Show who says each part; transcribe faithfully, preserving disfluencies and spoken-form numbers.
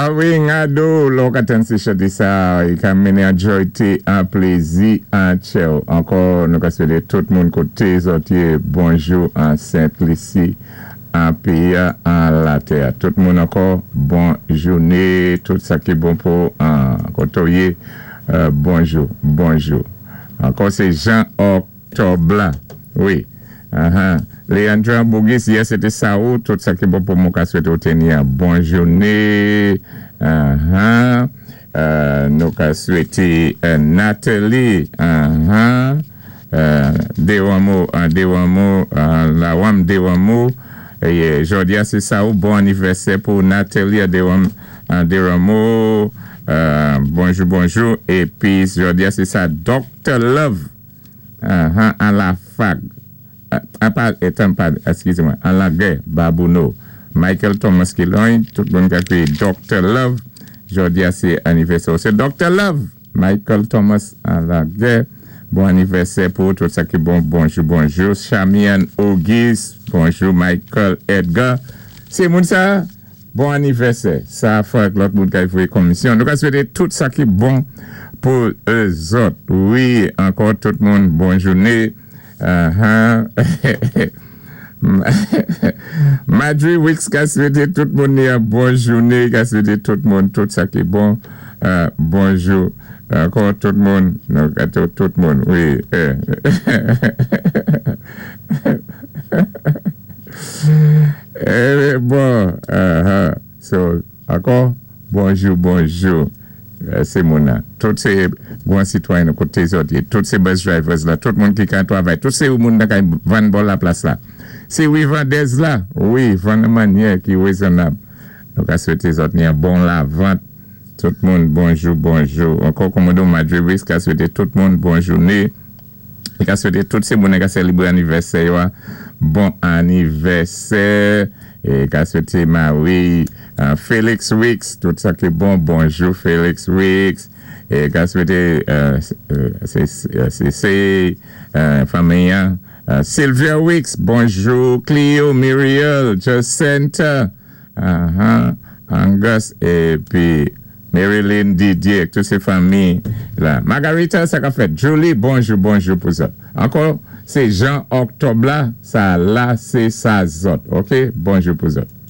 Speaker 1: A wi, ngado, lò ka tann sé chanté sa, i ka mennen an jwayté, an plézi, an tchèw. Ankò, nou ka swété tout moun koté zòt yé, bonjou an Sent Lisi, an péyi an latè. Tout moun ankò, bon jouné, tout sa ki bon pou an koto yé, euh, bonjou, bonjou. Ankò sé Jean Octobre la, wi. Uh-huh. Leandra Bougis, yè sété sa ou, tout sa ki bon pou moun ka swété ou tenni an bon jouné. Uh-huh. Euh, nou ka swété euh, Nathalie, uh-huh. euh, Dewamo, uh, Dewamo, uh, Lawam Dewamo, é jòdi a sé sa ou, bon anivèsè pou Nathalie Dewam, uh, Dewamo, euh, bonjou, bonjou, épi jòdi a sé sa Doctor Love, uh-huh, an la fag, uh, pa, étan pa, eskiz mwen, an la gè, Babouno, Michael Thomas Kiloin, tout moun ka kwiyé Doctor Love, jòdi a sé anivèsè, sé Doctor Love, Michael Thomas an la gè, bon anivèsè pou tout sa ki bon, bonjou, bonjou, Chamian Ogis, bonjou, Michael Edgar, sé moun sa, bon anivèsè, sa fwa lòt moun ka voyé komisyon, nou ka swété tout sa ki bon pou zòt, wi, ankò tout moun, bon jouné, uh-huh. Madri Wicks ka swété tout moun ni an bon jouné, ka swété tout moun, tout sa ki bon, euh, bonjou, ankò tout moun, nou ka tout, tout moun, wi. Eh. Eh, bon, uh-huh. So, ankò, bonjou, bonjou, sé moun nan. Tout sé bon sitwayen koté zòt yé, tout sé bus drivers la, tout moun ki ka twavay, tout sé moun nan kay vann bò la plas la. Sé wi vandèz la, wi, vann an mannyè ki wézonnab. Nou ka swété zòt ni an bon lavant. Tout moun, bonjou, bonjou. Ankò Komodo Madri Wicks ka swété tout moun bon jouné. I ka swété tout sé moun ka sélébré anivèsè yo, bon anivèsè. É ka swété Marie, uh, Félix Wicks, tout sa ki bon, bonjou Félix Wicks. É ka swété euh, sé sé euh, fanmi euh, Sylvia Wicks, bonjou Cleo, Muriel, Jacinta, uh-huh, Angus, épi Marilyn Didier, tout sé fanmi la. Margarita, sa ka fèt. Julie, bonjou, bonjou pou sa. Ankò, sé Jean Octobre la, sa la, sé sa zòt. OK? Bonjou pou zòt.